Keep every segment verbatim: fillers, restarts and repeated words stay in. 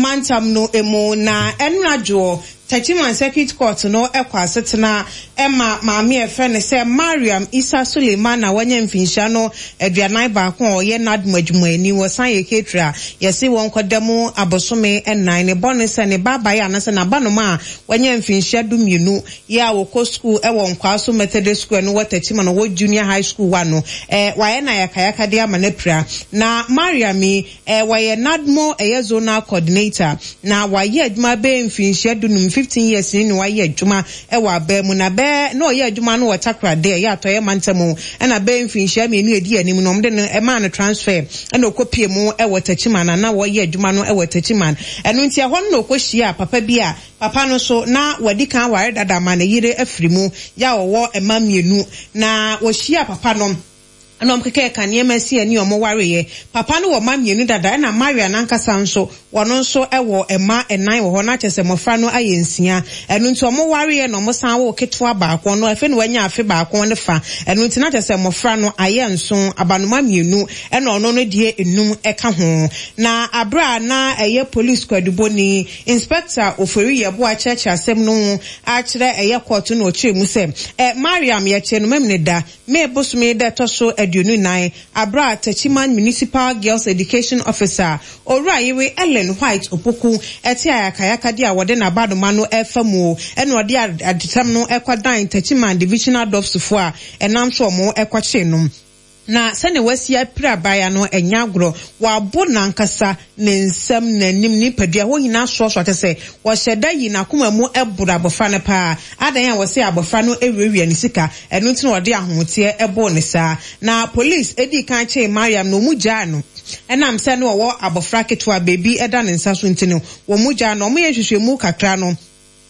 Mantam no mu. Na ɛnora dwoɔ, Techiman Circuit Court no kɔ asetena ma maame a ɛfrɛ no sɛ Mariam Isa Suleiman a wanya mfinhyia no aduanan baako a ɔyɛ NADMO adwumayɛni, wɔsan yɛ caterer. Yɛse wɔn kɔda mu abosome nnan. Ne bɔne sɛ ne ba abaeɛ anaasɛ n'abanoma a wanya mfinhyia du mmienu yɛ a wɔkɔ school wɔ Nkwaso Methodist School no wɔ Techiman no wɔ Junior High School wa no, ɛɛ wayɛ no ayakayakadeɛ ama no apira. Na Mariam yi, ɛɛ wɔyɛ NADMO ɛyɛ zonal coordinator na wayɛ adwuma bɛyɛ mfinhyia dunum, fifteen years ni na wayɛ adwuma ɛwɔ abɛn mu. Na bɛɛ na ɔyɛ adwuma no wɔ Takoradi, ɛyɛ Atɔeɛ Mantam, ɛna bɛyɛ mfinhyia mmienu edi anim no, ɔmo de no ɛmaa no transfer ɛna ɔkɔpie mu ɛwɔ Techiman na na wɔyɛ adwuma no ɛwɔ Techiman. Ɛno nti ɛhɔ no na ɔkɔhyia papa bi a papa no so na wadi kan ware dada ma ne yere afiri mu yɛ a ɔwɔ mma mmienu. Na wɔhyia papa no ɛna ɔmo keka ka nneɛma si ani ɔmo wareɛ. Papa no wɔ mma mmienu dada, ɛna Maria nankasa nso wɔno nso ɛwɔ mma ɛnan wɔ hɔ, na kyerɛ sɛ mmɔfra no ayɛ nsia. Ɛno nti ɔmo wareɛ na ɔmo san wɔ ketewa baako no, afei na wanya afe baako ne fa. Ɛno nti na kyerɛ sɛ mmɔfra no ayɛ nson, abanoma mmienu ɛna ɔno no deɛ enum ɛka ho. Na abere a na ɛyɛ police kwaduboni Inspector Ofori Yɛboa kyerɛkyerɛ asɛm no ho akyerɛ ɛyɛ court no, ɔkyerɛ mu sɛ ɛ Mariam yɛkyerɛ no mɛmene da May bosome da ɛtɔ so aduonu nan, abere a Techiman Municipal Girls Education Officer, Owura Yewe Ellen White Opoku, ɛte ayakayakadeɛ a wɔde n'abanoma no ɛfa mu, ɛna ɔde adesɛm no ɛkɔdan Techiman Divisional D O P S foɔ a ɛnam so ɔmo ɛkɔkye no. Na sɛnea wasi apira abaayewa no ɛnyɛ agorɔ. Wabo n'ankasa ne nsam, n'anim, nipadua hɔ nyinaa soɔsoɔ ate sɛ wɔhyɛ da yi n'akoma mu ɛboro abɔfra no paa. Adan a wɔsɛ abɔfra no awurawia ne sika, ɛno nti na wɔde ahoteɛ ɛbɔɔ ne saa. Na police edi kan kyee Mariam na ɔmu gyaa no, ɛnam sɛ no ɔwɔ abɔfra ketewa beebi ɛda ne nsa so nti no wɔn mu gyaa no. Ɔmo yɛ nhwehwɛmu kakra no,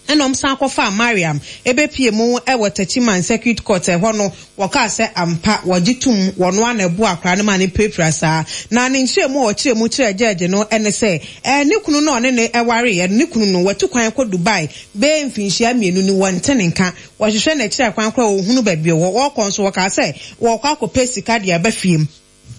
ɛna ɔmo san kɔfa Mariam ebepie mu ɛwɔ Techiman Circuit Court. Ɛhɔ no wɔkaa sɛ ampa wɔgye tum wɔn ano ɛbo akora no ma ne pirapira saa. Na ne nkyerɛ mu a ɔkyerɛ mu kyerɛ gyɛɛgye no ɛne sɛ ɛɛ ne kunu no ɔne ne ɛwareɛ, ne kunu no watu kwan kɔ Dubai bɛyɛ mfinhyia mmienu ni, wɔnte ne nka. Wɔhwehwɛ n'akyiri kwan koraa wɔhunu baabi ɔwɔ. Wɔkɔ nso wɔkaa sɛ wɔkɔ akɔpɛ sika de aba fie,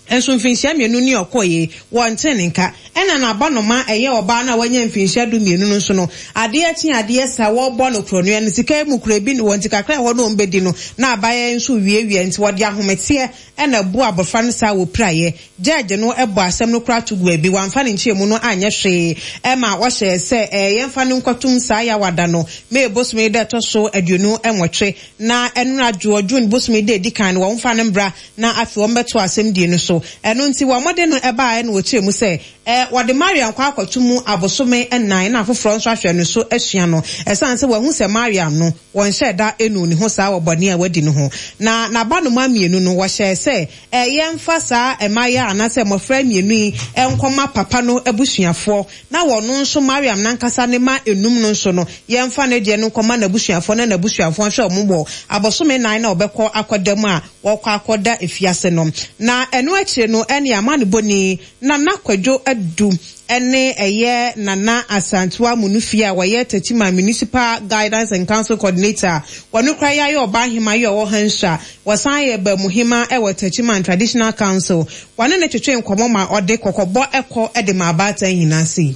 nso mfinhyia mmienu ni ɔkɔ yi wɔnte ne nka. Ɛna n'abanoma ɛyɛ ɔbaa no a wanya mfinhyia du mmienu no nso no, adeɛ kye adeɛ sa wɔrebɔ no korɔnoa no sika mu kura bi wɔn ti kakra ɛhɔ no wɔn bɛdi no na abayɛ nso wiewie, nti wɔde ahometeɛ ɛna ɛbu abɔfra no saa wɔ piraeɛ. Gyɛɛgye no ɛbɔ asɛm no kora to gu abi, wɔamfa ne nkyɛn no anyɛ hwee, ɛma wɔhyɛ sɛ ɛɛ yɛmfa no nkɔtum saa yawada no May bosome da ɛtɔ so aduonu nwɔtwe, na ɛnora dwoɔ June bosome da edi kan no wɔmfa no mbra na afei wɔn bɛto asɛm die no so. Ɛno nti wɔn de no ɛbaa ɛna wɔkyerɛ mu sɛ ɛɛ wɔde Mariam kɔ akɔto mu abosome nnan na afoforɔ nso ahwɛ no so asua no, ɛsan sɛ wɔn ho sɛ Mariam no wɔnhyɛ da enu ne ho saa wɔ bɔne a wadi no ho. Na n'abanoma mmienu no wɔhyɛ sɛ ɛyɛ mfa saa mmayewa anaasɛ mmɔfra mmienu yi nkɔma papa no abusuafoɔ, na wɔn nso Mariam nankasa ne ma enum no nso no yɛmfa ne deɛ no nkɔma n'abusuafoɔ na n'abusuafoɔ nhwɛ wɔn wɔ abosome nnan na ɔbɛkɔ akɔda mu a wɔkɔ akɔda efiase no. Na ɛno akyire no, ɛne amanebɔni Nana Kwadwo Adu ɛne ɛyɛ Nana Asantewa Munufie a wɔyɛ Techiman Municipal Guidance and Council Coordinator, wɔn kora yɛ ayɛ ɔbaa hema yi a ɔwɔ ha nso a wɔsan yɛ baamuhema ɛwɔ Techiman Traditional Council, wɔne ne twetwe nkɔmɔ ma ɔde kɔkɔbɔ ɛkɔ ɛde ma abaatan nyinaa sei.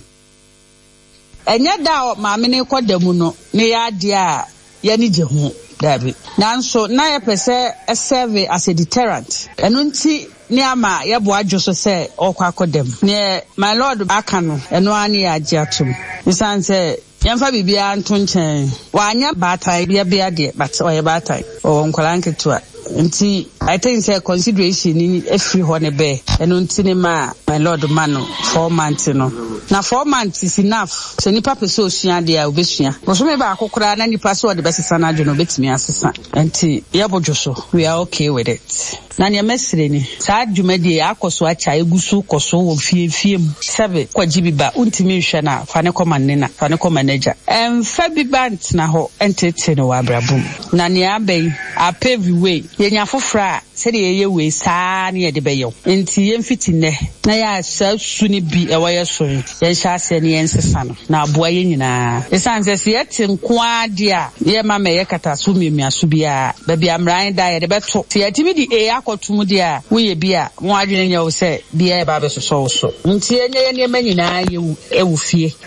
Ɛnyɛ da a maame ne kɔ da mu no ne yɛ adeɛ a yɛne gye ho dabi, nanso na yɛpɛ sɛ ɛserve as a deterrent. Ɛno nti ne ama yɛboa adwo so sɛ ɔkɔ akɔ dam. Neɛ my lord aka no, ɛno ara ne yɛ agye atom, ɛsiane sɛ yɛmfa biribiara nto nkyɛn. Wanyɛ baatan yɛbea deɛ, but ɔyɛ baatan, ɔwɔ nkwadaa nketewa, nti I think sɛ consideration ni efiri hɔ ne bɛɛ. Ɛno nti ne ma my lord ma no four months no, na four months is enough. Sɛ nipa pɛ sɛ osua adeɛ a, obesua. Bosome baako koraa na nipa sɛ ɔde bɛsesa n'adwene, obetumi asesa. Nti yɛbodwo so, we are okay with it. Na nea mɛsrɛ ni, saa dwumadie akɔ so akyɛ, egu so kɔ so wɔ fie fie mu. Sɛbe kɔgye bi ba, wontumi nhwɛ no a, fa ne kɔma ne na, fa ne kɔma n'agya. Ɛmfa bi ba ntena hɔ ɛntetee no wɔ abrabɔ mu. Na nea aba yi apave way, yɛnya foforɔ a sɛdeɛ yɛyɛ wei saa. ara ne yɛde bɛyɛ wo. Nti yɛmfiti nnɛ na yɛ a saa su no bi ɛwɔ yɛ so yi, yɛnhyɛ aseɛ ne yɛnsesa no na aboa yɛn nyinaa. Ɛsiane sɛ sɛ yɛte nko ara deɛ a, yɛmma mɛyɛ kataso mmiamiaso biara. Baabi a mmara da yɛde bɛto. Sɛ yɛtumi de A akɔto mu deɛ a, woyɛ bi a, mo adwene nyɛ wo sɛ biara ɛba abɛsosɔ wo so. Nti yɛnyɛ yɛn nneɛma nyinaa yɛ wɔ fie.